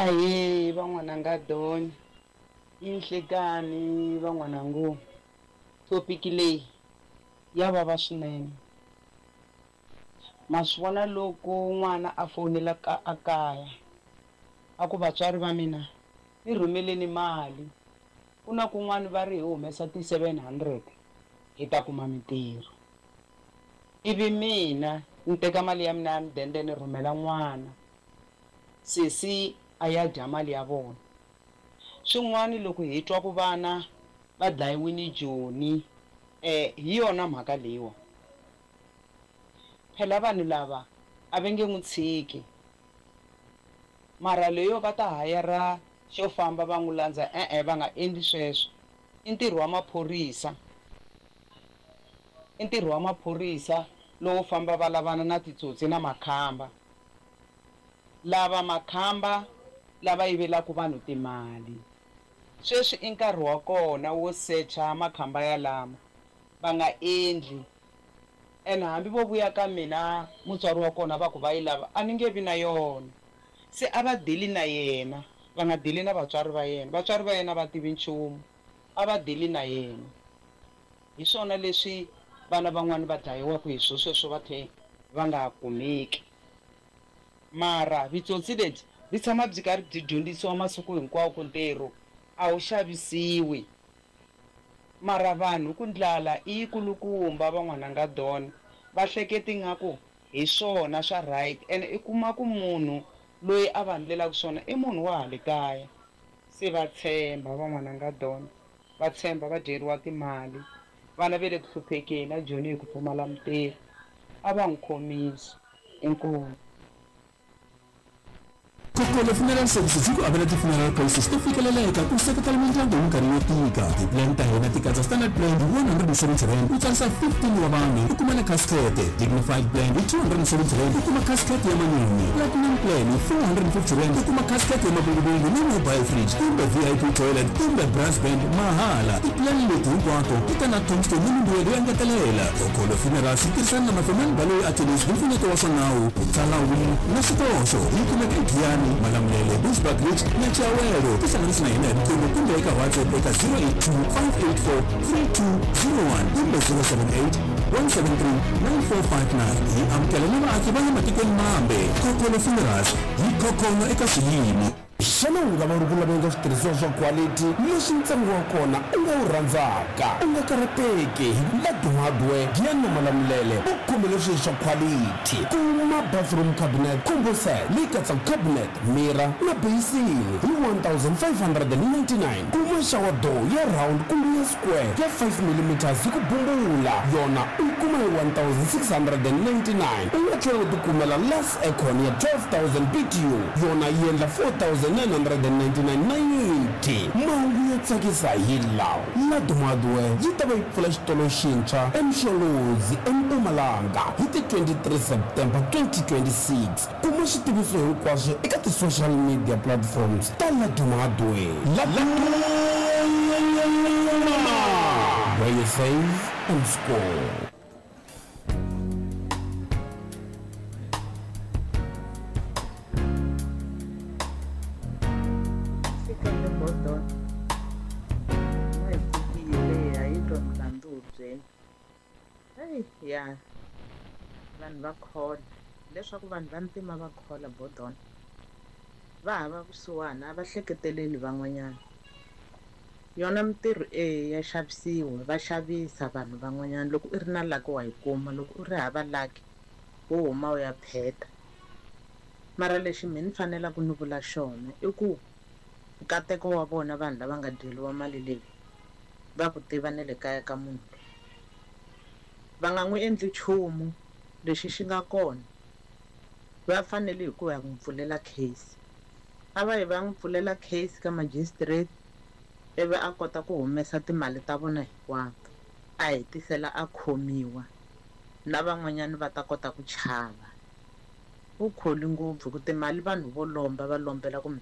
Ahee van'wananga Don i nhlekani van'wanangu topic leyi ya vava swinene ma swi vona loko n'wana a fowunela ka a kaya a ku vatswari va mina ni rhumeleni mali ku na kun'wani va ri hi humesa ti 700 hi ta kuma mintirho ivi mina ni teka mali ya mina ya mudende ni rhumela n'wana Sesi a ya dya mali ya vona. Swin'wani loko hi twa ku vana va dlayiwini Joni eh hi yona mhaka leyiwa. Phela vanhu lava a va nge n'wi tshiki. Mara leyo va ta hayara xo famba va n'wi landza e-e va nga endli sweswo. I ntirho wa maphorisa. I ntirho wa maphorisa lowo famba va lavana na titsotsi na makhamba. Lava makhamba lava yivelaka vanhu timali. Sweswi i nkarhi wa kona wo secha makhamba yalama. Va nga endli. And hambi vo vuya ka mina mutswari wa kona va ku va yi lava, a ni nge vi na yona. Se a va dili na yena, va nga dili na vatswari va yena. Vatswari va yena a va tivi nchumu, a va dili na yena. Hi swona leswi vana van'wana va dlayiwaka hi swo sweswo va tlhe va nga kumeki. Mara vitsotsi lebyi byi tshama byi karhi byi dyondzisiwa masiku hinkwawo ku ntirho a wu xavisiwi. Mara vanhu ku ndlala i yi kulukumba van'wananga Don va hleketi ngaku hi swona swa right and i kuma ku munhu loyi a va ndlelaku swona i munhu wa hale kaya se va tshemba van'wananga Don va tshemba va dyeriwa timali vana ve le ku hluphekeni a Joni hi ku pfumala mintirho a va n'wi khomisi. Inkomu. Kokolo Funeral Services yi ku avela ti-funeral policies to fikeleleka ku seketela mindyangu hi minkarhi yo tika. Ti-plan ta hina ti katsa Standard Plan hi R170 u tsarisa 15 wa vanhu u kuma na casket, Dignified Plan hi R270 u kuma casket ya manyunyu, Platinum Plan hi R450 u kuma casket ya mavunguvungu ni mobile fridge kumbe VIP toilet kumbe brass band mahala. Ti-plan leti hinkwato ti ta na tombstone ni mimbuyelo yo engetelela. Kokolo Funerals yi tirhisana na Mafemani Baloyi Attorneys hi mpfuneto wa swa nawu, ku tsala will na swikoxo. Yi kumeka eGiyani, Malamulele, Bushbuckridge na Chiawelo. Tihlanganisi na hina hi riqingho kumbe eka WhatsApp eka 082 584 3201 kumbe 078 173 9459. Hi amukela na vaaki va le matikweni mambe. Kokolo Funerals yi khokholo eka swiyimo. Xana u nga va u ri ku laveni ka switirhisiwa swa khwalithi leswi ntsengo wa kona u nga wu rhandzaka? U nga karhateki, Ladu Hardware, Giyani na Malamulele u khomele swilo swa khwalithi. Kuma bathroom cabinet combo set leyi katsaka cabinet, mirror na beyisini hi 1599. Kuma shower door ya round kumbe ya square ya 5 millimeters hi ku bumbula, yona u yi kuma hi 1699. U nga tlhela u tikumela Lux Aircon ya 12000 BTU yona yi endla 4999.90. Mahungu yo tsakisa hi lawa, Laduma Hardware yi ta va yi pfula xitolo xintshwa eMsholozi eMpumalanga hi ti 23 September 2026. Kuma switiviso hinkwaswo eka ti-social media platforms ta Laduma Hardware. Laduma, where you save and score. Xikandza Gordon na hi pfukile ha yi twa milandzu hubyeni. Heyi ya vanhu va khola leswaku vanhu va ntima va khola Gordon va hava vusiwana a va hleketeleli van'wanyana. Yona mintirho e ya xavisiwa va xavisa vanhu van'wanyana loko i ri na lucky wa yi kuma loko u ri hava lucky wo huma u ya pheta. Mara lexi mehe ni fanelaka ni vula xona i ku nkateko wa vona vanhu lava nga dyeriwa mali leyi va ku tiva na le kaya ka munhu loyi va nga n'wi endli nchumu lexi xi nga kona va fanele hi ku ya n'wi pfulela case a va yi va ya n'wi pfulela case ka magistrate ivi a kota ku humesa timali ta vona hinkwato a hetisela a khomiwa na van'wanyana va ta kota ku chava. U kholi ngopfu hi ku timali vanhu vo lomba va lombela ku mi.